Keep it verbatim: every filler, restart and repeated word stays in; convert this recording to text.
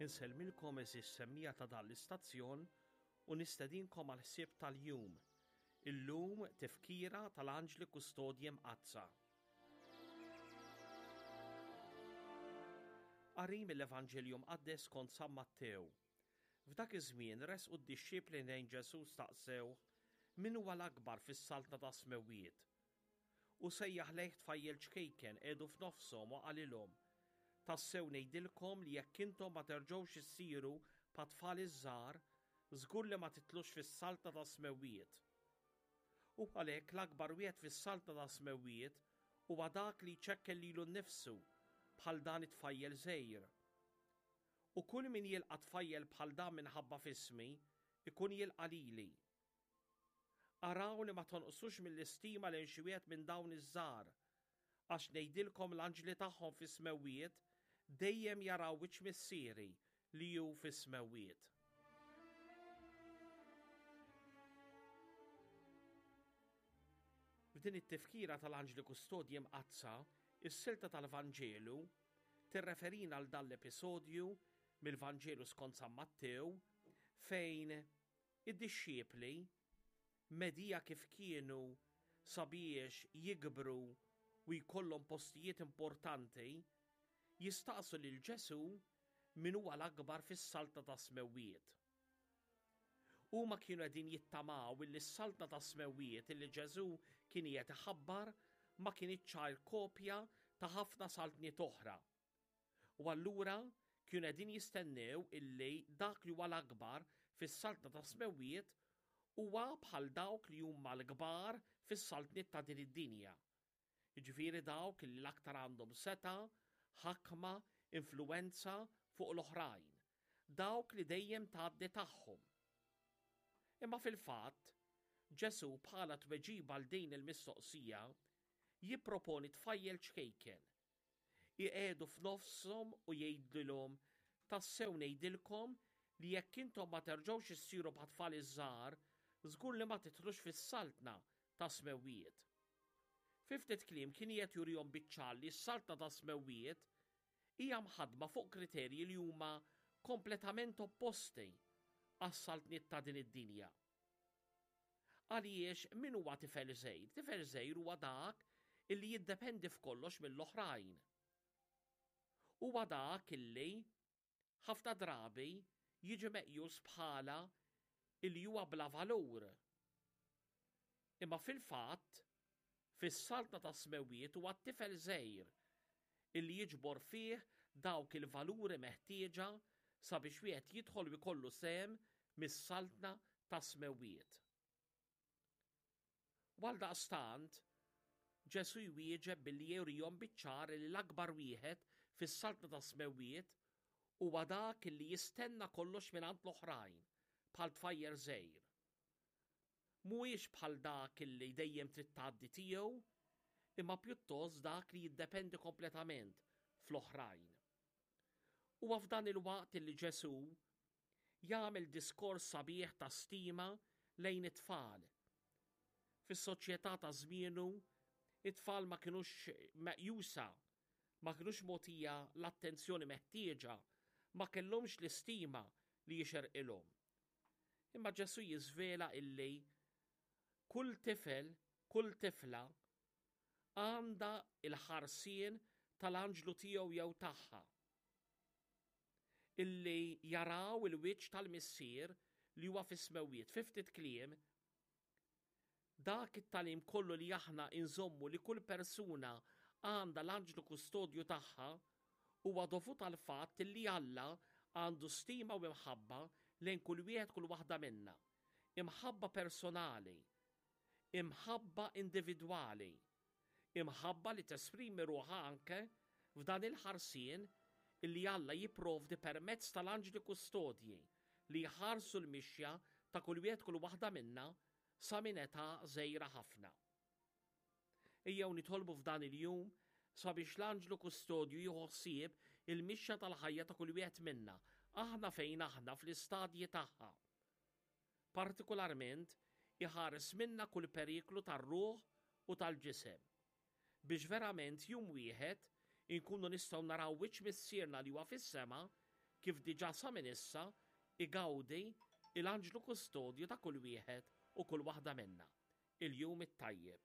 Insellmilkom għeżież semmiegħa ta' dan l-istazzjon u nistedinkom għal ħsieb tal-jum. Illum tifkira tal-Anġli Kustodji Mqaddsa. Qari mill-Evanġelju Mqaddes skont San Mattew. F'dak iż-żmien resqu d-dixxipli lejn Ġesù staqsewh min huwa l-akbar fis-saltna tas-smewwiet. U sejjaħ lejh tfajjel ċkejken qiegħdu f'nofshom u qalilhom: Tassew ngħidilkom li jekk intom ma terġgħux issiru bħat-tfal iż-żgħar, żgur li ma titlux fis-saltna tas-smewwiet. U għalhekk l-akbar wieħed fis-saltna tas-smewwiet huwa dak li jċekkel lilu nnifsu bħal dan it-tfajjel żgħir. U kull min jilqa' tfajjel bħal dan minħabba f'ismi, ikun jilqa' lili. Araw li ma tonqsux mill-istima lejn xi wieħed minn dawn iż-żgħar, għax ngħidilkom l-anġli tagħhom fis-smewwiet dejjem jaraw wiċċ Missieri li hu fis-smewwiet. F'din it-tifkira tal-Anġli Kustodji Mqaddsa, is-silta tal-Vanġelu tirreferina għal dan l-episodju mill-Vanġelu skont San Mattew fejn id-dixxipli medija kif kienu sabiex jikbru u jkollhom postijiet importanti jistaqsu lil Ġesù min huwa l-akbar fis-saltna tas-smewwiet. Huma kienu qegħdin jittamaw illi s-saltna tas-smewwiet illi Ġesù kien qiegħed iħabbar ma kinitx ċajr kopja ta' ħafna saltniet oħra. U allura kienu qegħdin jistennew illi dak li huwa l-akbar fis-saltna tas-smewwiet huwa bħal dawk li huma l-kbar fis-saltniet ta' din id-dinja. Jiġifieri dawk li l-aktar għandhom seta', ħakma, influwenza fuq l-oħrajn, dawk li dejjem tgħaddi tagħhom. Imma fil-fatt, Ġesù bħala tweġiba għal din il-mistoqsija jipproponi tfajjel ċkejken. Iqiegħdu f'nofshom u jgħidilhom: tassew ngħidilkom li jekk intom ma terġgħux issiru bħat-tfal iż-żgħar, żgur li ma tidħlux fis-saltna tas-smewwiet. Fi ftit kliem kien qiegħed jurihom biċ-ċar li s-saltna tas-smewwiet hija mħaddma fuq kriterji li huma kompletament opposti għas-saltniet ta' din id-dinja. Għaliex min huwa tifel żgħir? Tifel żgħir huwa dak illi jiddependi f'kollox mill-oħrajn. Huwa dak illi ħafna drabi jiġi meqjus bħala illi huwa bla valur. Imma fil-fatt, fis-saltna tas-smewwiet huwa t-tifel żgħir illi jiġbor fih dawk il-valuri meħtieġa sabiex wieħed jidħol u jkollu sehem mis-saltna tas-smewwiet. Għaldaqstant, Ġesù jwieġeb billi jurihom biċ-ċar li l-akbar wieħed fis-saltna tas-smewwiet huwa dak illi jistenna kollox mingħand l-oħrajn bħal tfajjel żgħir. Mhuwiex bħal dak illi dejjem trid tgħaddi tiegħu, imma pjuttost dak li jiddependi kompletament fl-oħrajn. Huwa f'dan il-waqt illi Ġesù jagħmel diskors sabiħ ta' stima lejn it-tfal. Fis-soċjetà ta' żmienu, it-tfal ma kinux meqjusa, ma kinux mogħtija l-attenzjoni meħtieġa, ma kellhomx l-istima li jixerqilhom. Imma Ġesù jiżvela illi kull tifel, kull tifla għandha il-ħarsien tal-anġlu tiegħu jew tagħha, illi jaraw il-wiċċ tal-Missier li huwa fis-smewwiet. Fi ftit kliem, dak it-tagħlim kollu li aħna inżommu li kull persuna għandha l-anġlu kustodju tagħha huwa dovut għal fatt li Alla għandu stima u imħabba lejn kull wieħed kull waħda minna. Imħabba personali, imħabba individwali, imħabba li tesprimi ruħha anke f'dan il-ħarsien illi Alla jipprovdi permezz tal-anġli kustodji li jħarsu l-mixja ta' kull wieħed kull waħda minna sa minn età żgħira ħafna. Ejjew nitolbu f'dan il-jum sabiex l-anġlu kustodju jieħu ħsieb il-mixja tal-ħajja ta' kull wieħed minna, aħna fejn aħna fl-istadji tagħha. Partikolarment iħares minna kull periklu tar-ruħ u tal-ġisem, biex verament jum wieħed inkunu nistgħu naraw wiċċ Missierna li huwa fis-sema kif diġà sa minn issa igawdi l-anġlu kustodju ta' kull wieħed u kull waħda minna. Il-jum it-tajjeb.